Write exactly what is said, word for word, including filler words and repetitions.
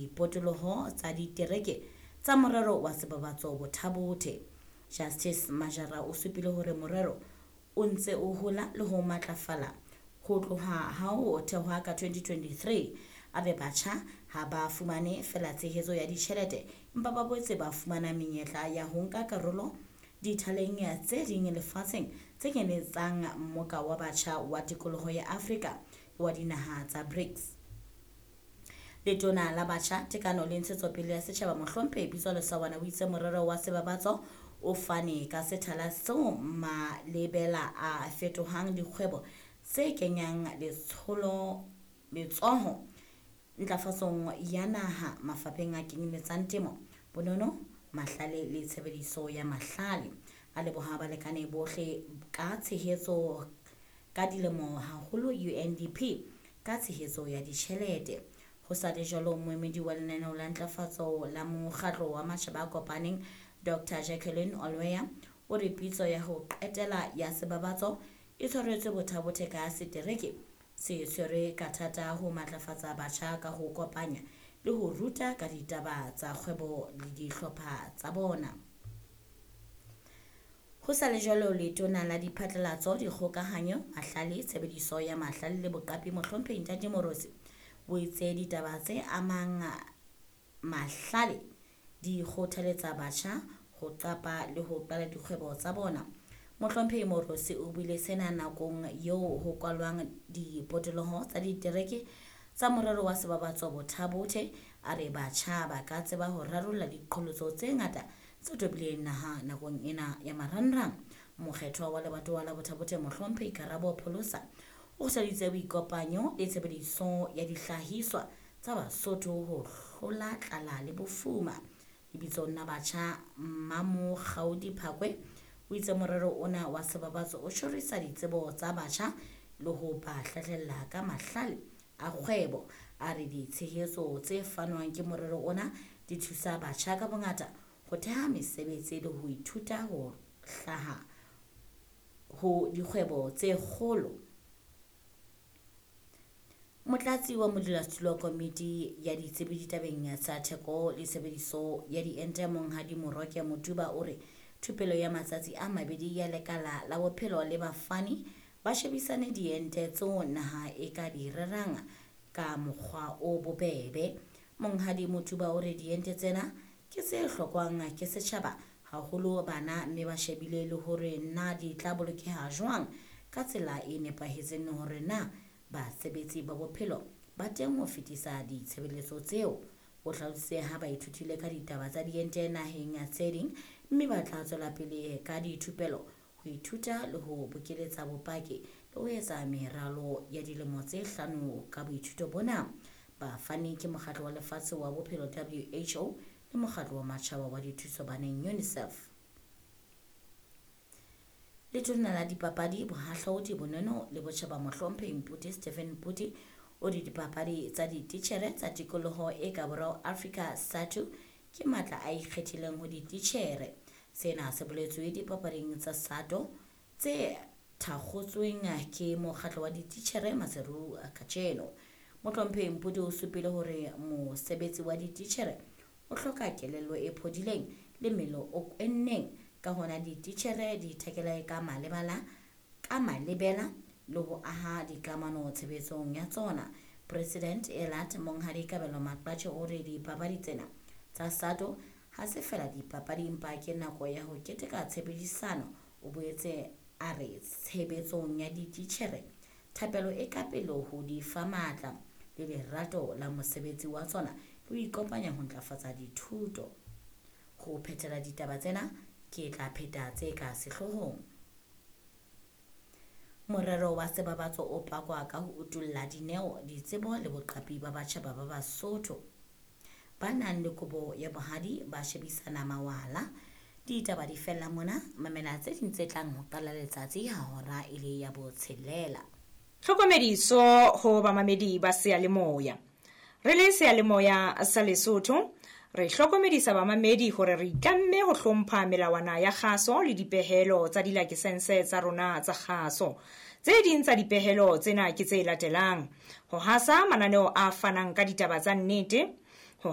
dipotoloho tsa ditereke tsa morero wa Sebabatso Botha-Bothe. Justice Majara o supile hore morero o ntse o hola le ho matlafala ho tloha ha o thehwa ka twenty twenty-three. A re batjha ha ba fumane feela tshehetso ya ditjhelete, empa ba boetse ba fumana menyetla ya ho nka karolo dithaleng tse ding lefatsheng tse kenyeletsang mmoka wa batjha wa tikoloho ya Afrika le wa dinaha tsa BRICS. Letona la Batjha, Tekano le Ntshetsopele ya Setjhaba Mohlomphehi Pitso Lesawana o itse morero wa Sebabatso o fane ka sethala seo malebela a fetohang dikgwebo tse kenyang letsholo letsoho ntlafatsong ya naha mafapheng a kenyeletsang temo, bonono, mahlale le tshebediso ya mahlale. A leboha balekane bohle ka tshehetso ka dilemo, haholo U N D P ka tshehetso ya ditjhelete. Ho sa le jwalo, moemedi wa lenaneo la ntlafatso la Mokgatlo wa Matjhaba a Kopaneng Doctor Jacqueline Olweya o re pitso ya ho qetela ya Sebabatso e tshwaretswe Botha-Bothe ka setereke se tshwerwe ka thata ho matlafatsa batjha ka ho kopanya le ho ruta ka ditaba tsa kgwebo le dihlopha tsa bona. Ho sa le jwalo, letona la Diphatlalatso, Dikgokahanyo, Mahlale, Tshebediso ya Mahlale le Boqapi Mohlomphehi Ntate Moorosi o itse ditaba tse amang mahlale di kgothaletsa batjha ho qapa le ho qala dikgwebo tsa bona. Mohlomphehi Moorosi o buile sena nakong eo ho kwalwang dipotoloho tsa ditereke tsa morero wa Sebabatso Botha-Bothe. A re batjha ba ka tseba ho rarolla diqholotso tse ngata tse tobileng naha nakong ena ya marangrang. Mokgethwa wa lebatowa la Botha-Bothe Mohlomphehi Karabo Pholosa o kgothaditse boikopanyo le tshebediso ya dihlahiswa tsa Basotho ho hlola tlala le bofuma. Lebitsong la batjha, Mmamokgaudi Phakwe o itse morero ona wa Sebabatso o tjhorisa ditsebo tsa batjha le ho ba hlahlella ka mahlale a kgwebo. A re ditshehetso tse fanwang ke morero ona di thusa batjha ka bongata ho theha mesebetsi le ho ithuta ho hlaha ho dikgwebo tse kgolo. Motlatsi wa modulasetulo wa komiti ya ditsebi ditabeng tsa theko le tshebediso ya diente Monghadi Moroke Motuba o re thupelo ya matsatsi a mabedi ya lekala la bophelo le bafani ba shebisane diente tseo naha e ka di rerang ka mokgwa o bobebe. Monghadi Motuba o re diente tsena ke tse hlokwang ke setjhaba haholo bana, mme ba shebile le hore na di tla bolokeha jwang ka tsela e nepahetseng, hore na basebetsi ba bophelo ba teng ho fetisa ditshebeletso tseo. O hlalositse ha ba ithutile ka ditaba tsa diente naheng tse ding, mme ba tla tswela pele ka dithupelo ho ithuta le ho bokeletsa bopaki le ho etsa meralo ya dilemo tse hlano ka boithuto bona. Bafani ke Mokgatlo wa Lefatshe wa Bophelo W H O le Mokgatlo wa Matjhaba wa Dithuso Baneng UNICEF. Letona la Dipapadi, Bohahlaudi, Bonono le Botjhaba Mohlomphehi Mphuti Stephen Mphuti o re dipapadi tsa dititjhere tsa tikoloho e ka borwa Afrika SATU ke matla a ikgethileng ho dititjhere. Sena se boletswe dipapading tsa SATO tse thakgotsweng ke mokgatlo wa dititjhere Maseru kajeno. Mohlomphehi Mphuti o supile hore mosebetsi wa dititjhere o hloka kelello e phodileng le mmele o kwenneng, ka hona dititjhere di ithekela ka malebela ka malebela le ho aha dikamano tshebetsong ya tsona. President Elat Monghadi Kabelo Maqatjhe o re dipapadi tsena tsa SATO ha se feela dipapadi, empa ke nako ya ho keteka tshebedisano. O boetse a re tshebetsong ya dititjhere thapelo e ka pele ho di fa matla le lerato la mosebetsi wa tsona le ho ikopanya ho ntlafatsa dithuto. Ho phethela ditaba tsena ke tla pheta tse ka sehloohong. Morero wa Sebabatso o pakwa ka ho utulla dineo, ditsebo le boqapi ba batjha ba Basotho ba nang le kobo ya bohadi ba shebisana mawala. Ditaba di fella mona, mamela tse ding tse tlang ho qala letsatsi ha hora e le ya botshelela. Tlhokomediso ho bamamedi ba seyalemoya. Re le seyalemoya sa Lesotho, re hlokomedisa bamamedi hore re itlamme ho hlompha melawana ya kgaso le dipehelo tsa dilakesense tsa rona tsa kgaso. Tse ding tsa dipehelo tsena ke tse latelang: ho hasa mananeo a fanang ka ditaba tsa nnete,